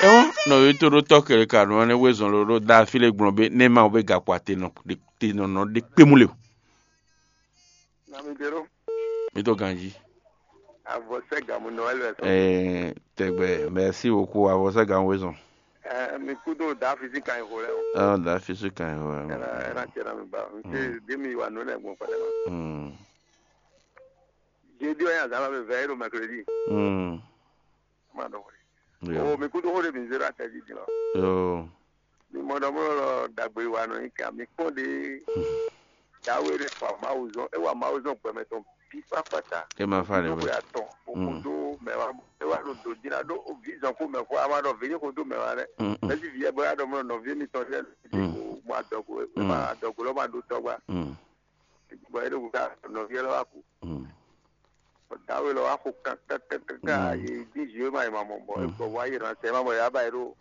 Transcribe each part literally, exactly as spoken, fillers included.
Ɛhɔn, nɔví toɖótɔ́ kɛlɛ ka nɔ ɛnɛ wezɔn ló ɖó dá fí lé gblɔn bé nɛ́ ma wɛ bé gakpo ate nɔ ɖe te nɔ nɔ ɖe kpé mú le o. Nami ɖe ɖo. Mi to ganji. Avɔ sɛ gamu nɔ ɛlɛ sɔ. Ɛɛ, tɛgbɛ, merci beaucoup, avɔ sɛ gamu wezɔn. Ɛɛ, mi kudo da fisi kan yi xo lɛ o. Ɛɛ, da fisi kan yi xo lɛ. Ɛna ɛna cɛ na mi ba. N se de mi wa nɔ lɛ gbɔn kpɛlɛ ma. Hmm. Jeudi o ya zama be vɛ e ɖo mercredi. Hmm. Ma ɖɔ xo. Yo. O mi kudo xo de mi zero atɛ di di lɔ. Yo. Mi mɔ ɖɔ mɔ lɔ dagbe wa nɔ nyi kan mi kpɔn de. Dawe ɖe fa Mawu zɔn, e wa Mawu zɔn gbɛmɛ tɔn bi kpakpata. E ma fa le we. Atɔn o kudo mɛ wa e wa ɖo do jina ɖo o vi zɔn ko mɛ fɔ a ma ɖɔ vi ni ko do mɛ wa lɛ. Mm, mm. Mɛsi vi yɛ bɔ ya ɖɔ mɔ nɔvi mi tɔn lɛ Mm. Ko mɔ adɔgo e Mm. ma adɔgo lɔ ma ɖo tɔgba. Mm. Bɔ e ɖo ka nɔvi lɔ wa ku. Mm. Dawe lɔ wa xo kankankankan Mm. ye di zi ma yi ma mɔ bɔ Mm. egbɔ wa yi ran sɛ ma mɔ ya ba yi ɖo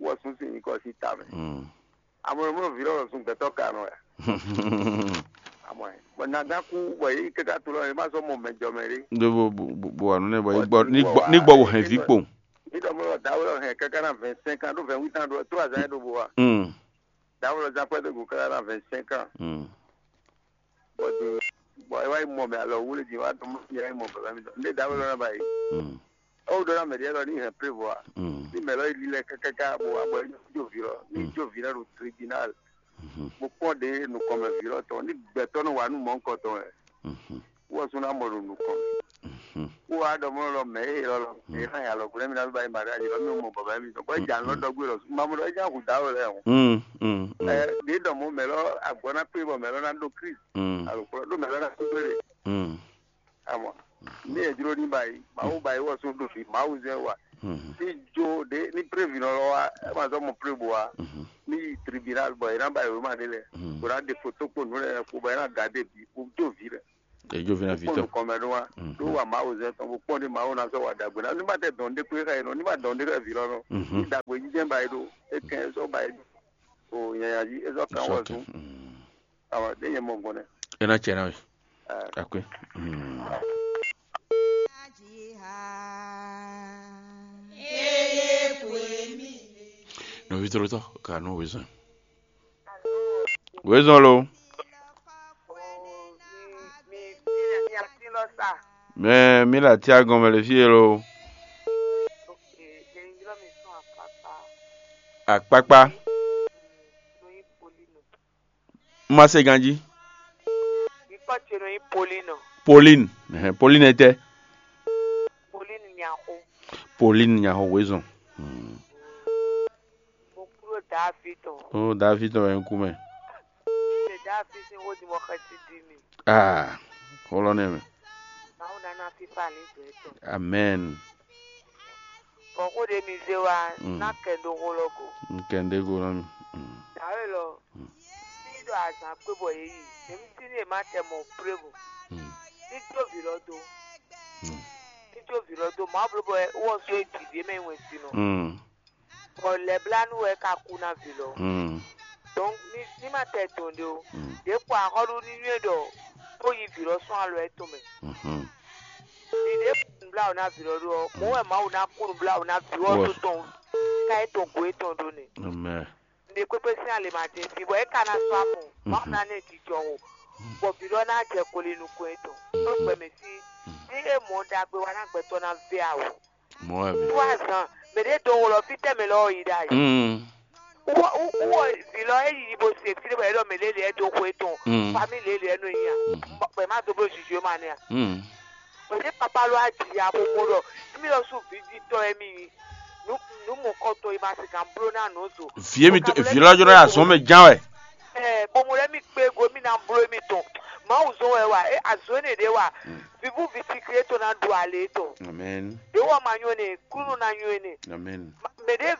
wɔ sun sin nyikɔ si ta mɛ. Mm. Amɔ mɔ vi lɔ sun gbɛtɔ ka nɔ ya. Amɔ bɔ naga ku bɔ yi kaka to lɔ ma sɔ mɔ mɛ jɔ mɛ ɖe. Ɖo bo bo bo bo wa nɔ nɛ bɔ Bɔ ní gbɔ ní gbɔ ní gbɔ wò hɛn vǐ kpowun. Ní dɔ mɔ dawe lɔ hɛn kaka na vingt cinq ans ɖo vingt huit ans ɖo trois ans ɖo bo wa. Mm. Dawe lɔ zan kpɛdo go kaka na vingt cinq ans. Mm. Bɔ din bɔ e wá yi mɔ mɛ alɔ wúlé din wá dɔn mɔ ya yi mɔ baba mi dɔn. Ndé dawe lɔ na ba yi. Mm. Ewu ɖɔ na mɛ ɖe lɔ ní hɛn prévoa. Mm. Ní mɛ lɔ yi lílɛ kákáká bɔ wá bɔ é jó vi lɔ. Ní Mm. jó vi lɛ ɖo tribunal. Mhm. Bó kpɔn ɖe nukɔnmɛ vi lɔ tɔn ní gbɛtɔ nɔ wá nú mɔ ŋkɔ tɔn wɛ. Mhm. Wɔ sún ná mɔ ɖo nukɔn. Mhm. Wó wá ɖɔ mɔ lɔ mɛ e lɔ lɔ. Mm. E hã ya lɔ gblɛ mi na ba yi mariage lɔ mi mɔ baba mi dɔn. Bɔ e jan lɔ Mm. dɔgbe lɔ. Mamu lɔ e jan hu dawe lɛ o. Mm, mm, mm. Ɛ ɖe dɔn mo mɛ lɔ agbɔ na kpe bɔ mɛ lɔ na ɖo Christ. Mm. Alo kplɔ ɖo mɛ lɔ na kpe ɖe. Mm. Amɔ. Ní e jló ní ba yi, Mawu ba yi wɔ sún ɖo fi, Mawu zɛ wa. Mm. Ní jo ɖe ní prévu nɔ lɔ wa, e ma zɔ mɔ prévu wa. Mhm. Ní yi tribunal bɔ e na ba yi wema ɖe lɛ. Mm. Bɔ na ɖe foto kpo nǔ lɛ kpo bɔ e na ga ɖe bi, kpo do vi lɛ. Ejo vina Kpɔn vitɔ. Nukɔnmɛ ɖó wa. Mhm. Ɖó wa Mawu zɛ tɔn bó kpɔn ɖé Mawu ná sɔ́ wa ɖagbe ná. Ní ma tɛ dɔn ɖé kpé xá yě nɔ, ní ma dɔn ɖé xá vǐ lɔ nɔ. Mhm. Ní ɖagbe jijɛ ba yé ɖó. É kɛn é sɔ́ ba yé ɖó. O nyanya jí é sɔ́ kán wɔ Sɔkè. Sún. Mm. Awa ɖé nyɛ mɔ gbɔn nɛ. É ná cɛ ná we. Ɛ. Akwe. Mm. Nɔvi tlotɔ ka nɔ wezɔn. Wezɔn lo. Mɛ mi la tia gɔn mɛ le fie lo. Akpakpa. Ma se ganji. Pauline. Ɛhɛn, Pauline etɛ. Pauline Nyaxo. Pauline Nyaxo wezɔn. Hmm. Mo kúrò David o. Ó David wɛ ń kú mɛ. Ṣe David ní wọ́n ti mọ xɛsi di mi. Ah, xó lɔ nɛ mɛ. Mawu nana fífa ní jɛ tɔ. Amen. Bɔn xó ɖe mi zé wa Mm. ná kɛ ɖo xó lɔ go. N kɛ ɖe go lɔ mi. Mm. Dàwé lɔ Mm. ní ɖo azan kpé bɔ yé yi. Èmi sí ní èma tɛ mɔ prévo. Mm. Ní jó vǐ lɔ dó. Mm. Ní jó vǐ lɔ dó. Màá bló bɔ wọ́n só é dìde mɛ wɛn si nɔ. Mm. Bɔ lɛblanu wɛ ka kú ná vǐ lɔ. Mm. Donc ní ní ma tɛ dɔn ɖé o. Mm. Ɖě kpɔ axɔ́ɖu ní nywɛ́ ɖɔ bó yi vǐ lɔ sɔ́n alɔ ɛ tɔn mɛ. Mhm. Ní ɖě kpɔ nǔbláwǔ ná vǐ lɔ ɖó ɔ́, mɔ̌ wɛ Mawu ná kú nǔbláwǔ ná vǐ ɔ́ Wɔ- tó tɔn ká é tɔn go étɔn ɖó nɛ. Amen. Ní ɖě kpékpé sín alě ma dín fí bɔ é ka ná sɔ́ afɔn. Mawu Mhm. ná nɛ jijɔ o. Bɔ vǐ lɔ ná jɛ koli nukɔn étɔn. Tó gbɛmɛ sí ní é mɔ ɖagbe wa ná gbɛtɔ́ ná vɛ awu. Mɔ̌ wɛ mi. Wá zan, mɛ ɖě dó wlɔ fí tɛ́ mɛ lɔ yi ɖa yi. Mm. Wɔ wɔ vǐ lɔ é yi bo se fí ɖé bɔ é ɖɔ mɛ lě lě é dó xwé tɔn, Mm. Famille lě lě é nɔ nyi a. Mm. Bɔ ma dó bló zizo ma nɛ a. Mm. Bɔ ɖě papa lɔ á ji ya bó kó ɖɔ émi lɔ sú vǐ jí tɔn émi nyi. Nǔ nǔ mɔ̌kɔtɔn e ma se gǎn bló ná nǔ zo. Vǐ émi tó vǐ lɔ jɔ ɖo azɔn mɛ ján wɛ. Ɛɛ, bɔ mo lɛ́ mi kpé go mi ná bló mi tɔn. Mawu zɔn wɛ wa, é azɔn énɛ́ ɖě wa. Mm. Vivú vi sikli é tó ná ɖu alě tɔn. Amen. Ɖě wɔ ma nyɔ́ nɛ, kúnnu ná nyɔ́ nɛ. Amen. Mɛ ɖě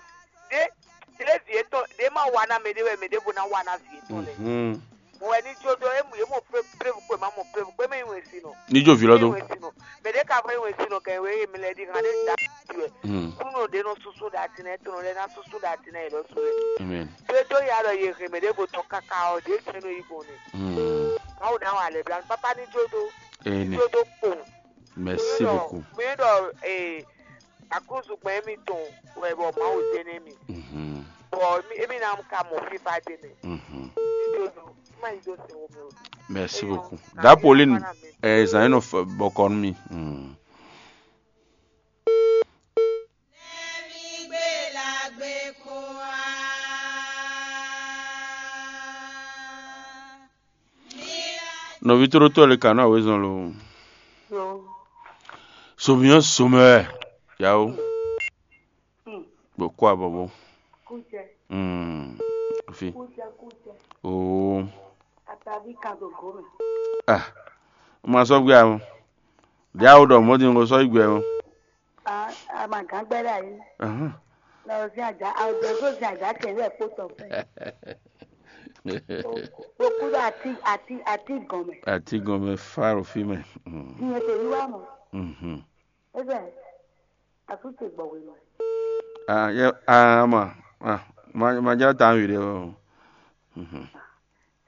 ɖě ɖě vi étɔn ɖě ma wa ná mɛ ɖě wɛ mɛ ɖěvo ná wa ná vi étɔn lɛ. Mhm. Mo wɛ ní jó dó ému yě mɔ prévu kpé ma mɔ prévu kpé mɛ yi wɛn si nɔ. Ní jó vi lɔ dó. Mɛ ɖě ka fɔ yi wɛn si nɔ kɛ wɛ mi lɛ ɖi hàn ɖé da ti wɛ. Mm. Kúnnu ɖě nɔ susu ɖa ti nɛ, étɔn lɛ ná susu ɖa ti nɛ yě lɔ su lɛ. Amen. Tó tó ya lɔ yě hɛn mɛ ɖěvo tɔn kaka ɔ ɖě sɛn nɔ yi gbɔn nɛ. Mm. Mawu ná wa lɛ bla papa ní jó dó. Amen. Jó dó kpo. Merci beaucoup. Mi ɖɔ ee Aklúzu gbɛn émítɔn wɛ bɔ Mawu zé nú émí. Mhm. Bɔ émí émí ná ka mɔ fífá d'é mɛ. Mhm. Ní dó dó má nyí dó sɛn wó mɛ o. Merci beaucoup. Da Pauline, eh, zan yɛn nɔ bɔkɔ nú mi. Mm. Nɔví tlóló tɔ́ le ka nɔ awězɔn lo. Somiyɔ́ somɛ wɛ. Yawo. Bɔ kó abɔbɔ. Kújẹ. Mm. Fi. Kújẹ kújẹ. Oo. Atavi kan do gome. Ah. Ma sɔ gbé àwọn. Diawo ɖɔ mɔdi ŋgɔ sɔ igbe àwọn. Ah, ama gán gbɛdɛ ayi. Ahán. Na o sin aja, a o jẹ so sin aja kɛ lɛ kpó tɔ fɛ. O kú dɔ ati ati ati gɔmɛ. Ati gɔmɛ faro fi mɛ. Mm. Diɲɛ tɛ yi wa mɔ. Mhm. Ebe, a su te gbɔ we mɔ. Ah, yɛ, ah, ma, ah, ma, ma ja ta wi de o. Mhm.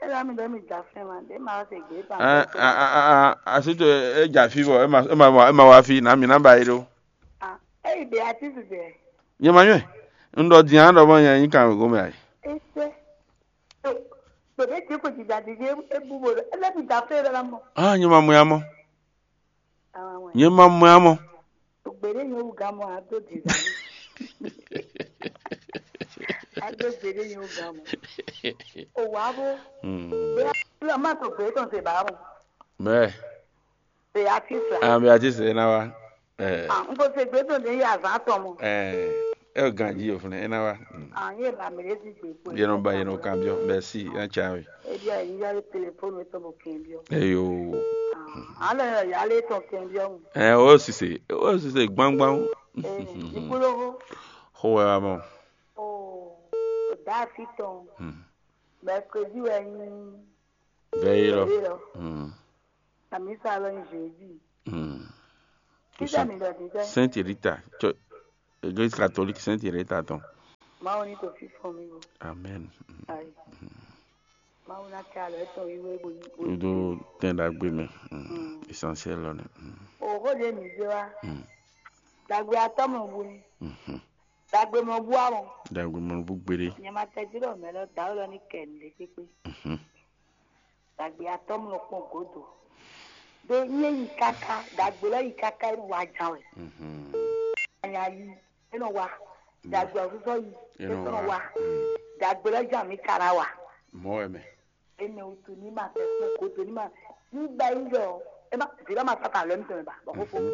E la mi ɖe mi ja fɛn ma, ɖe ma se gbe ta. Ah, ah, ah, ah, ah, a su te e ja fi bɔ, e ma, e ma, e ma wa fi, na mi na ba yi do. Ah, e yi be ati su de. Nye ma nyɔe. Un ɖɔ din an ɖɔ mɔ nyɛ nyi kan go mɛ ayi. Ese. Gbede ti ko ti da di e bu bo. E le mi da fɛn la mɔ. Ah, nye ma mɔ ya mɔ. Awa wɛ. Nye ma mɔ ya mɔ. Gbede nyo wu gamɔ a do di. A do gbede nyo wu gamɔ. O wa bo. Hmm. Be la ma to gbede tɔn se ba mo. Mɛ. Beatrice la. Ah, Beatrice e na wa. Eh. Ah, n ko se gbede tɔn de ya zan tɔn mo. Eh, e ganji o fune e na wa. Mm. Ah, ye ba mi le si gbe ko. Ye no ba ye no kan bio. Merci, yan cha wi. E dia yi ya le téléphone to bo ken bio. Eyo. Ah, ala ya ya le to ken bio. Eh, o sise, o sise gbangban. Eh, ikolo ho. Ho wa mo. Oh, da fi ton. Hmm. Mercredi wɛ ni. Vɛyi lɔ. Vɛyi lɔ. Hmm. Amisa lɔ ni jeudi. Hmm. Títà mi lɔ dídá. Sainte Rita, tso Église catholique Sainte Rita tɔn. Mawu ní to fífún mi o. Amen. Ayi. Mawu ná kɛ alɔ etɔn yi wé bo yi. Ɖo tɛn ɖagbe mɛ. Hmm. Hmm. Essentiel lɔ nɛ. Hmm. Òhó ɖe mi zé wa. Hmm. Dagbe atɔ mɔ bu ni. Mhm. Dagbe mɔ bu awɔ. Dagbe mɔ bu gbére. Nyɛ ma tɛ jí ɖɔ mɛ lɔ da lɔ ní kɛ ní ɖe kpékpé. Mhm. Dagbe atɔ mɔ kpɔn godo. Ɖo nyɛ yi kaka, dagbe lɔ yi kaka e nɔ wa jan wɛ. Mhm. Anya yi, e nɔ wa. Dagbe ɔsɔsɔ yi, e nɔ wa. Mm. Dagbe lɔ jan mi ka na wa. Mɔ wɛ mɛ. Ene wutu ní ma tɛ kpɔn godo ní ma. Ní ba yi yɔ, e ma, vi lɔ ma sata lɔ mi tɛmɛ ba, bɔ kókó. Mhm.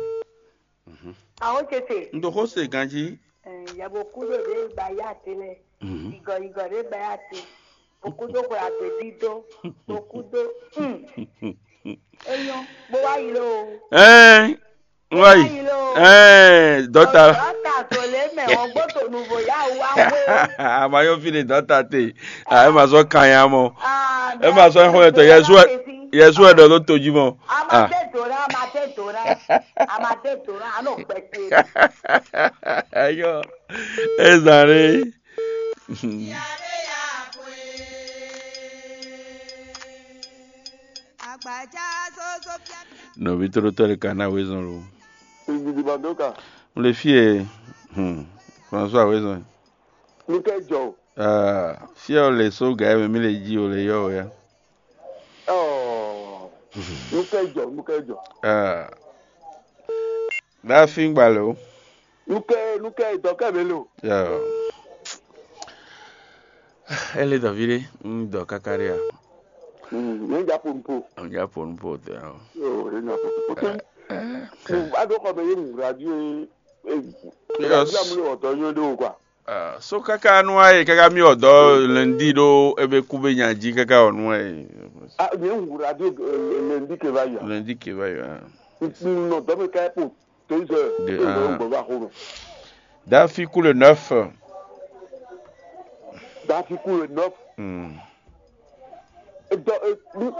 Mhm. Awo tete. N ɖo xó se ganjí. Ɛɛ, yabo kú ɖo ɖe gba ya te lɛ. Mhm. Igɔ igɔ ɖe gba ya te. Okú ɖo xwe agbe dídó. Okú ɖo. Hmm. Eyɔn, bó wá yi lé o. Ɛɛ, wá yi. Bó wá yi lé o. Ɛɛ, dɔta. Dɔta tó lé mɛ, ɔgbó tó nu vo ya wá wé. Amayɔ fi de dɔta te. Ah, e ma sɔ kanya mɔ. Ah, e ma sɔ xɔ etɔ Yesu, Yesu e ɖɔ ló tojí mɔ. Ah. Amadé dona, amadé dona, amadé dona, anɔ gbɛtɛ. Eyɔ, ezan ɖe. Nɔvi tlóló tɔ́ ɖé ka ná wezɔn lo. Igidi Bandoka. Un le fie, hmm, François wezɔn. Nukɛ jɔ. Ah, fie o le so ga mɛ mi le ji o le yɔ o ya. Oh. Nukɛ jɔ, nukɛ jɔ. Ah. Bá fi gbà lò. Nukɛ nukɛ dɔkɛ mɛ lo. Yɔ. Ele dɔ vi ɖe, un dɔ kaka ɖe a. Mm, ne ja po nupo. Un ja po nupo tɛ o. Yo, ne ja po nupo. Tɛ. Ado kɔ bɛ ye mu radio ye. Yes. Radio amule ɔtɔ yo do kwa. Ah, so kaka nu aye kaka mi ɔdɔ lundi ɖo ebe kube nya ji kaka ɔnu aye. Ah, ne wu radio lundi ke va ya. Lundi ke va ya. Nɔ dɔ me ka po. Deux heures. De, deux heures ah. Gbɔ va xo me. Dafi ku le neuf. Dafi ku le neuf. Hmm. Edɔ e mi.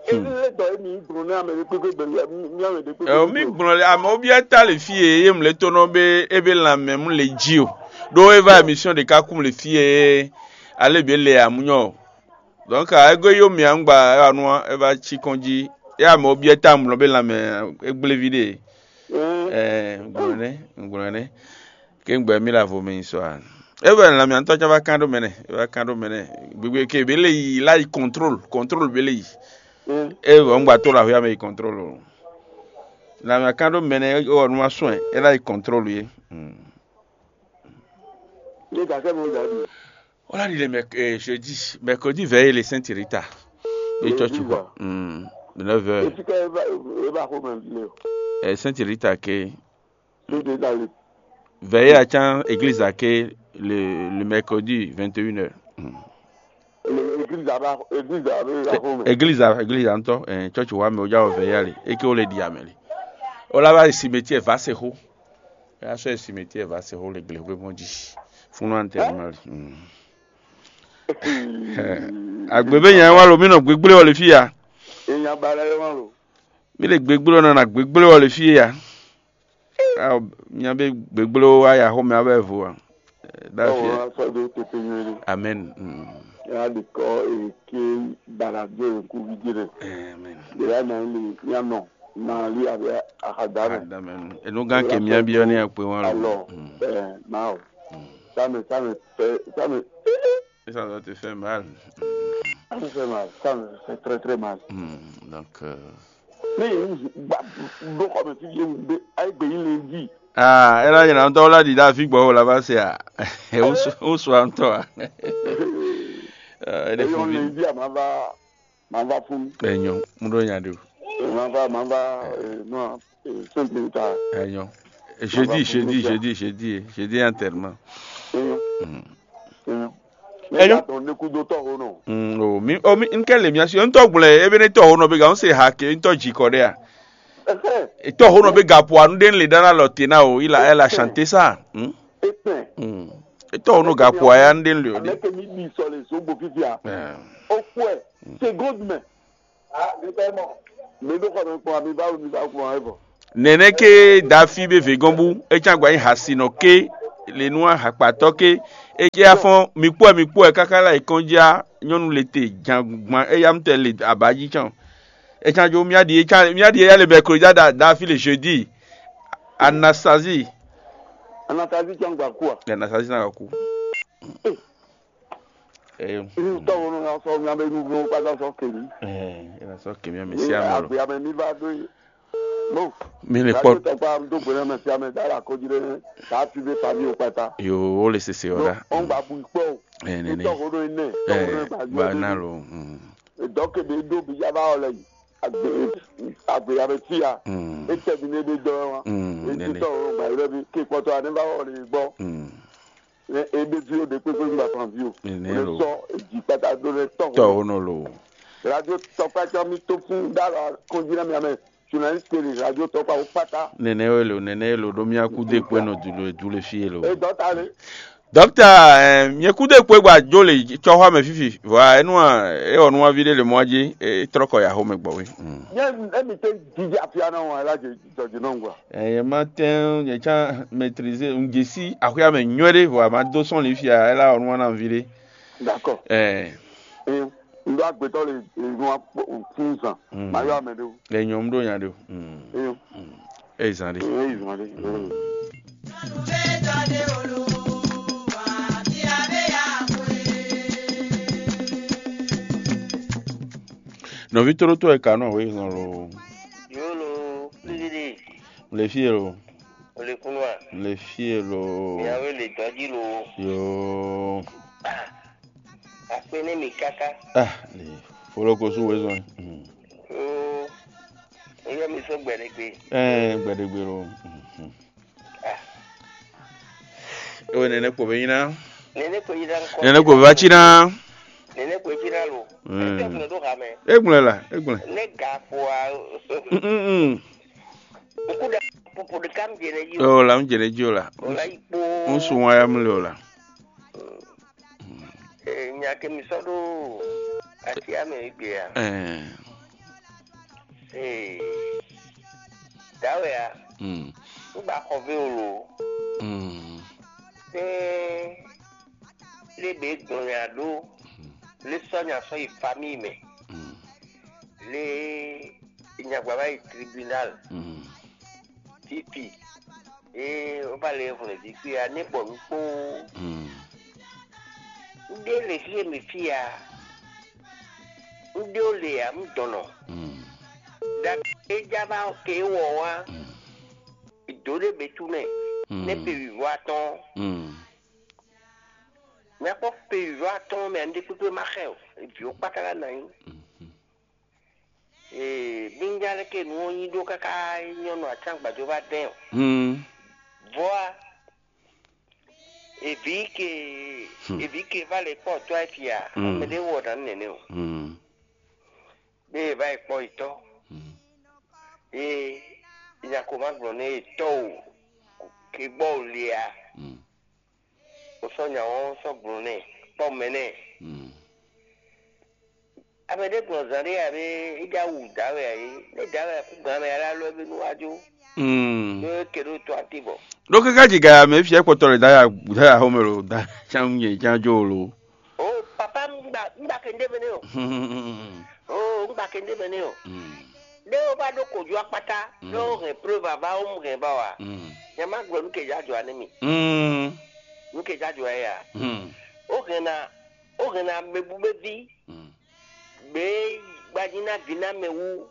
Ele dɔ e mi gblɔ ne ame ɖe kpekpe bɛ mi ame ɖe kpekpe. Ɛ mi gblɔ le ame obi ata le fi ye ye mle to nɔ be ebe lanmɛ mu le ji o. Ɖo eva émission ɖeka kum le fi ye ale be le amunyɔ. Donc ego yo mi angba anua eva tsi kɔn ji. Ya ame obi ata mlɔ be lanmɛ egble vi ɖe. Ɛɛ. Ɛɛ, un gblɔ nɛ́, un gblɔ nɛ́. Ké un gbɛ mí la vo mɛ nyi sɔ a? E wɛ lanmɛ ntɔ can va kan ɖó mɛ nɛ, e va kan ɖó mɛ nɛ. Gbegbe ke be le yi la yi contrôle, contrôle be le yi. E wɔ un gba to la hwɛ mɛ yi contrôle o. Lanmɛ kan ɖó mɛ nɛ, e wɔ nu ma sɔn e la yi contrôle ye. Hmm. Ye ka kɛ mo da bi. Wala ɖi le mɛ eh, jeudi, mercredi veille le Sainte Rita. Be church quoi. Hmm. De neuf heures. Esi ka e ba e ba xo mɛ le. Eh, Sainte Rita ke Ni de da le. Veille à can église à ke le, le mercredi vingt et une heures. Hmm. Le église aba église aba la xo mɛ. Église à église à ntɔ eh, church wa mɛ o ja o veille ali. Et que o le di ameli. O la va cimetière va se ho. Ya so cimetière va se ho le gle hwe bon di. Funu enterrement li. Hmm. Agbe be nya wa lo mi nɔ gbegble wɔ le fi ya. Èèyàn balẹ̀ wọn lò. Mi le gbegble wɔ nɔ na gbegble wɔ le fi ya. Aw nya be gbegble wa ya xɔ mɛ abɛ vo wa. Dafi. Ọwọ́ aṣọ tó tètè yẹn ni. Amen. Mm. Ya di kọ́ èké balàjọ èkú gidi rẹ̀. Amen. Ìyá náà lè yàn nọ náà lé abẹ́ àkàdá rẹ̀. Amen. Enu gan ke mia bi ɔ ni akpe wan Alɔ lo. Mm. Ɛ máa o. Sami sami fɛ sami Et ça doit te faire mal. sami fɛ mal sami fɛ très très mal. Mm. Donc euh, Ne yɛ ŋu gba ɖo xɔ mɛ fi yɛ ŋu be ayi gbe yi le di. ah, ela yina ŋutɔ la ɖi ɖe afi gbɔ o la va se a. Wosu ŋutɔ a. Eh, ele Eyɔn fun le vi. di a ma va ma va fun. Enyo, mu ɖo nya ɖe o. Ma va ma va eh, non eh, sɛnti ta. Enyo. Jeudi, jeudi, jeudi, jeudi, jeudi enterrement. Eyɔn Mm. eyɔn. Eyɔn. Ne tɔ ne kudo tɔ ho nɔ. Mm, o mi o mi nke le mia si ŋutɔ gblɛ ebe ne tɔ ho nɔ be ga ŋu se ha ke ŋutɔ dzi kɔ ɖe a. Ɛhɛ. Etɔ ho nɔ be ga po anu ɖe le dana lɔ te na o ila ela chante sa. Mm. Etɛ. Mm. Etɔ ho nɔ ga po aya nu ɖe le o de. Amɛke mi bi sɔ le zogbo fifia. Eh. O kɔɛ seconde mɛ. Mi ɖo xɔ mi kpɔn mi ba mi ba kpɔn ɛ bɔ. Nɛnɛ ke dafi be vegɔn bu etsa gba nyi hasinɔ ke le nu ahakpatɔ ke eke afɔn mi kpɔɛ mi kpɔɛ kaka la ekɔn ja nyɔnu le te jan gban eya mu tɛ le abaji tsɔn. Etsa jo mia di etsa mia di eya le mercredi da dafi le jeudi. Anastasie. Anatazi tsɔn gba kua. Anastasie na ku. Eh. Tɔwɔ nɔ sɔ mia bɛ nu nu kpata sɔ keli. Eh, ena sɔ kemi ame si ame lo. Agbe ame mi va do yi. Bon. Mi le Radio kpɔ. Tɔgba do gbɛnɛ mɛ si ame da la kɔji ɖe ta fi be fa mi o kpata. Yo, wo le sese o da. Ɔn gba bu kpɔ o. Eh, nene. Tɔwɔ nɔ ne. Eh, ba na lo. Mm. Dɔke be do bi ya ba ɔlɛ yi. Agbe agbe ya be ti ya. Mm. Ete bi ne be dɔ wa. Mm, Eti nene. tɔwɔ gba yi lɛ bi ke kpɔtɔ ane ba ɔlɛ yi gbɔ. Mm. Ne ebe vi o ɖe kpekpe ŋgba fan vi o. Nene Ne lo. Sɔ edzi kpata do ne tɔwɔ. Tɔ wo nɔ lo. Radio Tɔkpa tsɔ mi to fún dala kɔnjínà mi amɛ journaliste télé Radio Tɔkpa wo kpata. Nene wo lo, nene lo ɖo mía kú dé kpé nɔ du le du le fie lo. E dɔ ta le. Dɔkta, eh, mie kú dé kpé gba jo le tsɔxɔ mɛ fifi. Vɔa enu a e wɔ nuwa vi ɖe le mɔ dzi e trɔ kɔ ya xo mɛ gbɔ we. Mm. Nye emi te didi afia na wɔn la dze dɔdzi nɔ ŋgɔ. Eh, ye ma tɛn ye tsa maîtriser un dze si axɔya mɛ nyuɛ ɖe vɔa ma do sɔn li fia ela wɔ nuwa na vi ɖe. D'accord. Eh, Ee, n ɖo agbetɔ le enu akpɔ fún zan. Mm. Ma yɔ ame ɖe o. le nyɔm ɖo nya ɖe o. Mm. Ee, Eh, zan ɖe. ee, zan ɖe. Nɔvi toro to eka nɔ we zɔn lo. Yolo, Plididi, Le fie lo. Olekunua, Le fie lo. Miawe le dɔji lo. Yo. Akpe ne mi kaka. Ah, le. Folo ko su we zɔn. Mm. Yoo, eyɔ mi sɔ gbɛɖegbe. Eh, gbɛɖegbe lo. Mhm. Ewe nene kpo be nyina. Nene ko yi ɖa ŋkɔ. Nene kpo va tsina. Nene ko yi ɖa lo. Mm. Etɔ kun ɖo ha mɛ. Egblẽ la, egblẽ. Ne ga fo a. Mm, mm, mm. Ŋku ɖa popo ɖeka mi dze ne yi o. Oh, la un jere dzi o la. O la yi kpo. Un sun wa ya mu le o la. Eh, nya ke mi sɔ ɖo atia mɛ yi gbea. Eh. Eh. Dawe a. Mm. Ŋgba xɔ ve o lo. Mm. Te le be gbɔn nya ɖo. Le sɔ nya sɔ yi famille mɛ. Mm. Le nyagba va yi tribunal. Mm. Titi. Ee, ó va lɛ hwlɛ̌n vǐ kpé a, né bɔ nú kpóó. Mm. Un ɖe le xí e mi fí a, un ɖe ó le a, un dɔn nɔ. Mm. Ɖa e ja va ke wɔ wá, Mm. dǒ ɖé bɛ tú mɛ, Mm. nɛ pe wǐvɔ́ atɔ́ɔ́n. Mm. Mɛ kpɔ́ pe wǐvɔ́ atɔ́ɔ́n mɛ, un ɖe kpékpé ma xɛ o, vǐ ó kpáta ná nyi. Mm. Ee, bínjá lɛ́ ke nǔ ɔ́ nyi ɖó káká nyɔ́nu atán gbàdó va dɛn o. Hmm. Vɔ́ a, èvǐ ke, Hmm. èvǐ ke va lɛ kpɔ́ tɔ́ ɛ fia, Hmm. mɛ ɖé wɔ ɖǎ nɛnɛ o. Hmm. Ɖé e va yi kpɔ́ yi tɔ́. Hmm. Ee, nya ko ma gblɔ nɛ e tɔ́ o, ke gbɔ o le a. Hmm. O sɔ́ nya ɔ́ sɔ́ gblɔ nɛ, kpɔ́ mɛ nɛ. Hmm. Ame ɖé gbɔn zan ɖé ǎ bé, é já wu dǎ wɛ ǎ é. Né dǎ wɛ kú gan mɛ alá lɔ é bé nú wá jó. Mm. Ɖó é ke ɖó to atí bɔ. Ɖó káká ji gaya mɛ fiɛ kpɔtɔ lɛ daya daya xɔmɛ lo da chan nyɛ chan jo lo. O papa, un gba un gba ke ndé mɛ nɛ o. O un gba ke ndé mɛ nɛ o. Mm. Ɖé o va ɖó kojú akpata, Mm. ɖé o hɛn preuve ava o mu hɛn va wa. Mm. Nyɛ ma gblɔ nu ke ja jɔ anɛ mi. Mm. Nu ke ja jɔ ya. Mm. O hɛn na o hɛn na mɛ bu bɛ vi. Mm. Gbě gbají ná vǐ ná mɛ wú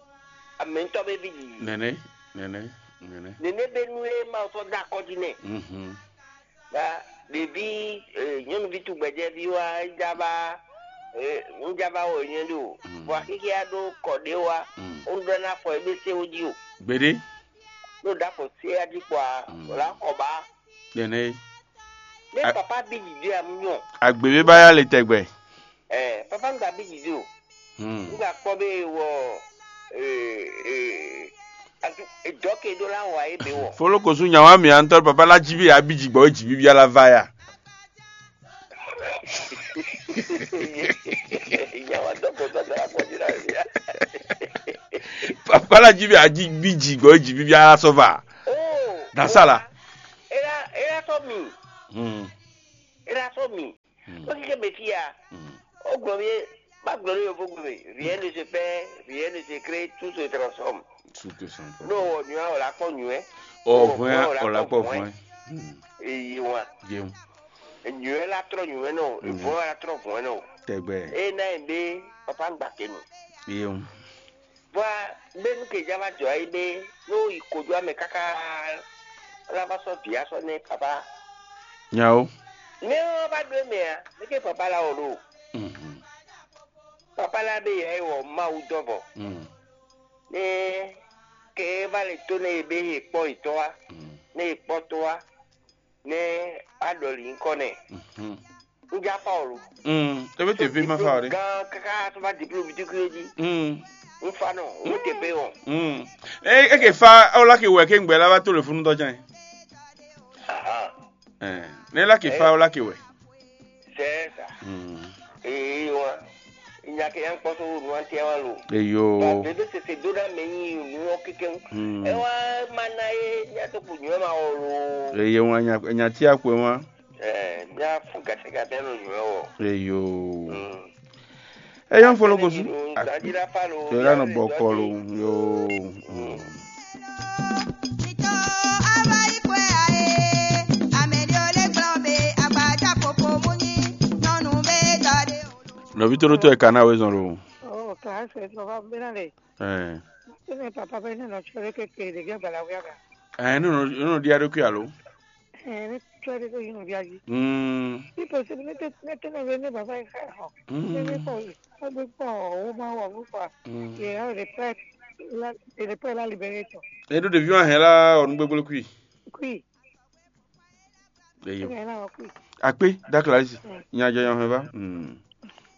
amɛ̌ntɔ́ ví jǐ. Nɛnɛ, nɛnɛ, nɛnɛ. Nɛnɛ bɛ́ nú é ma sɔ́ dó akɔ́ jí nɛ. Mhm. Ba ɖeví eh, nyɔ́nuví tugbɛjɛví wá jábá eh, ŋjábá wɔ nyɛ ɖo. Mhm. Vɔ xíxíá ɖó kɔ ɖé wá. Mhm. Ó ɖɔ ná fɔ é bɛ sé wó jí o. Gbeɖé. Ɖó ɖafɔ sé ají kpɔ a Mm. wòlá kɔ ba. Nɛnɛ. Ní A- papa bí dìde àmúyàn. Agbègbè báyà lè tẹ̀gbẹ́. Ɛ papa ń gba bí dìde o. Hmm. Ń gba kpọ́ bí wọ ɛ ɛ ɛ dɔke ɖó lá wà é bɛ wọ. Folokosu nyawa mi antɔ papa la jibi abidzi gbɔ jibi bia la va ya. Nyawa dɔke sɔsɔ la kpɔdzi la bia. Papa la jibi adzi bidzi gbɔ jibi bia la sɔ va. Oh. Dasala. Era era sɔ mi. Hmm. Era sɔ mi. Hmm. Ó kíké mɛ fí ya. Hmm. Ó gblɔ mi má gblɔ ní yovó gbe mɛ. Rien ne se fait, rien ne se crée, tout se transforme. Tout se transforme. N'o wɔ nyuɛ o la kpɔ nyuɛ. Ɔ vɔn ya o la kpɔ vɔn. Hmm. Eyi wa. Yewu. Nyuɛ la trɔ nyuɛ nɔ, vɔn la trɔ vɔn nɔ. Tɛgbɛ. E na yi be papa gba kenu. Yewu. Vɔa bɛnu ke ja va jɔ ayi be n'o yi kojú amɛ káká la va sɔ vǐ asɔ nɛ papa. Nyawo. Mɛ ɔ́ va ɖó mɛ a, mɛ ke papa la wɔ ɖo. Mhm. Papa la be yɛ wɔ Mawu dɔ vɔ. Mhm. Ne ke va le to ne be he kpɔ yi tɔ wa, Mhm. ne yi kpɔ to wa, ne a ɖɔ li ŋkɔ nɛ. Mhm. N ja Paulu. Mm, ebe te vi ma fa o ɖe. Gan kaka to va diplôme bi tukui ji. Mm. N fa nɔ, o te pe o. Mm. E e ke fa o la ke wɛ ke ngbɛ la va to le funu dɔ jan. Aha. Eh, ne la ke fa o la ke wɛ. C'est ça. Mm. Eh wa. Nya ke yan kpɔsɔ wo nu an tia wa lo. Eyo. Ba bebe se se do na me yi nu o keke. Mm. E wa ma na e nya to ku nyo ma o lo. Eyo wa nya nya tia kwe wa. Ɛɛ, mía fún gacɛgacɛ nɔ nywɛ wɔ. Eyo. Mm. Eyo n fɔlɔ gosu. Tɔyɔla nɔ bɔ kɔlu. Yo. Mm. Nɔvi toro tɔ ɛ kana wezɔn lo. Oh, classe, no va bena le. Eh. Tene papa bena no chore ke ke de gbala wiaga. Eh, no no no dia do kuyalo. Ɛ ne tsɔ́ ɖé ɖo yi nɔvia jí. Mm. Ipò sebe ne te ne te nɔvia ne baba yi xa xɔ. Mm. Ne ne kɔ yi. Agbe kpɔ o ma wɔ bu kpa. Mm. Ye ha le pɛ la le pɛ la libéré tɔ. E ɖo ɖevi wa hɛn la ɔnu gbegblé kui. Kui. Eyo. Ne la wɔ kui. Akpe dakla isi. Mm. Nya jɔ yan hɛn va. Mm.